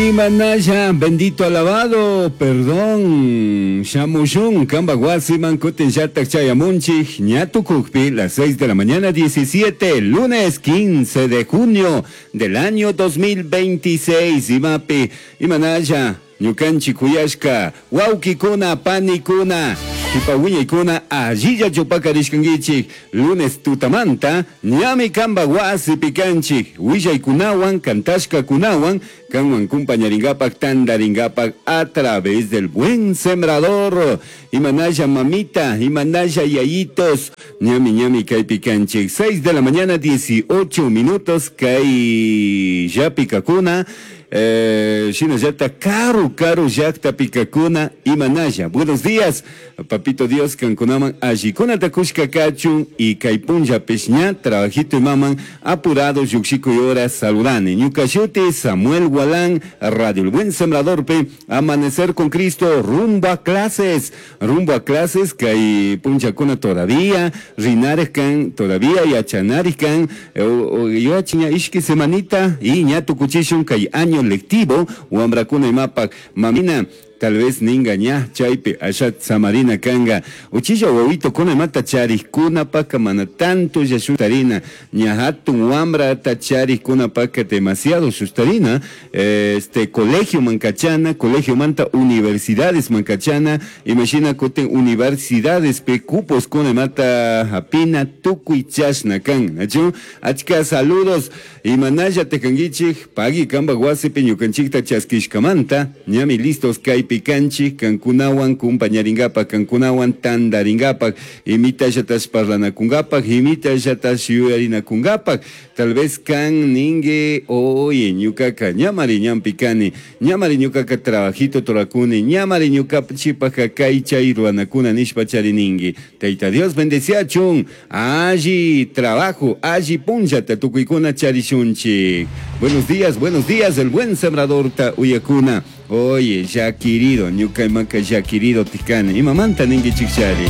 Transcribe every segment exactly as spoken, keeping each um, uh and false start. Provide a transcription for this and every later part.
Imanalla, bendito alabado, perdón, shamushun, kamba wasiman kutin llatak chayamunchik, ñatukukpi, las seis de la mañana diecisiete, lunes quince de junio del año dos mil veintiséis, imapi, imanalla, ñukanchik kuyashka, wawkikuna, panikuna, kipawiñaykuna, allilla chupakarishkankichik, lunes tutamanta, ñami kamba wasipi kanchik, willaykunawan, kantashkakunawan, kanwan kumpañaringapak, tandaringapak, a través del buen sembrador. Imanalla mamita, imanalla yayitos, ñami ñami kaypi kanchik. seis de la mañana dieciocho minutos, kay llapikakuna, eh, shinallata karu karu llaqtapikakuna, imanalla. Buenos días, papito Dios, kankunaman allikunata kushka kachun y kay punllapish ña trabajito imaman apurado lluqshikuy hora saludani. Ñuka shuti Samuel Gualán, Radio El Buen Sembrador pe, Amanecer con Cristo, rumbo a clases, rumbo a clases, kay punllakuna todavía, rinares kan, todavía yachanaris kan, yachiña ishki semanita y ña tukuchishun kay año lectivo, wambrakuna imapak, mamina, tal vez ninga ña chaypi ashat samarina kanga uchilla wawito kuna mata charikuna paka mana tanto ya shustarina ña hatun wambra ta charikuna paka demasiado shustarina, este colegio mancachana, colegio manta universidades mancachana, imagina kutin universidades pe cupos kuna mata hapina tukuy chashna kan, nachu achka saludos imanalla tekangichik pagi kamba wasipi ñukanchikta chaskishkamanta ñami listos kay picanchi, kankunawan kumpañaringapak, kankunawan tandaringapak, imita llatas parlanakungapak, imita llatas yuyarinakungapak, tal vez kan ningue, oye, ñukaka, ñamari ñampikani, ñamari ñukaka trabajito torakuni, ñamari ñuka chipaka kay chay ruanakuna nishpa chariningi. Taita Dios bendeciachun, alli trabajo, alli punllata tukuykuna charishunchik. Buenos días, buenos días, el buen sembrador ta uyakuna. Oye, ya querido, ñuka imaka ya querido tikana, imamanta ningi chikchari.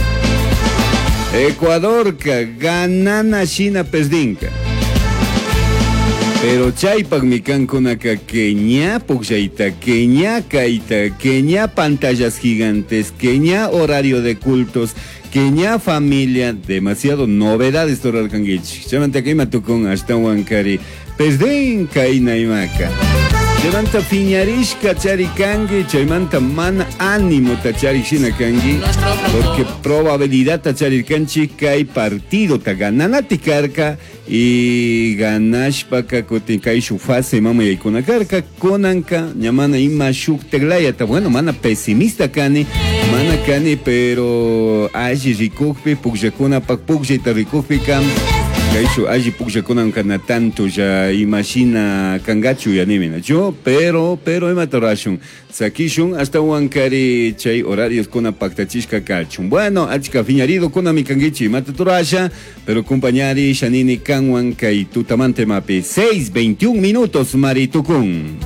Ecuadorka ganana shina perdinka. Pero chaypak mi kankunaka que ña pukllaita, que ña kaita, que ña pantallas gigantes, que ña horario de cultos, que ña familia, demasiado novedades torarkangichik. Chaymanta kayma tukun ashtawan kari, perdin kayna imaka. Chaymanta fiñarishka charikangi, chaymanta mana ánimo tacharishina kangi, porque probabilidad tacharirkanchi kay partido ta gananati karka y ganashpaka kutin kay shuk fase mama yaykuna karka, kunanka ñamana ima shuk teglayata, bueno, mana pesimista kani, mana kani, pero alli rikukpi, pukllakunapak pukllayta rikukpi kam, kaychu alli pukllakunanka na tanto ya imagina kangachu ya nimina yo, pero pero imata rashun sakishun hasta wankari chay horarios kuna paktachishka kachun. Bueno, achka fiñarido kuna mikangichi imata turasha, pero compañari shanini kanwan kay tutamante mapi seis veintiún minutos maritukun.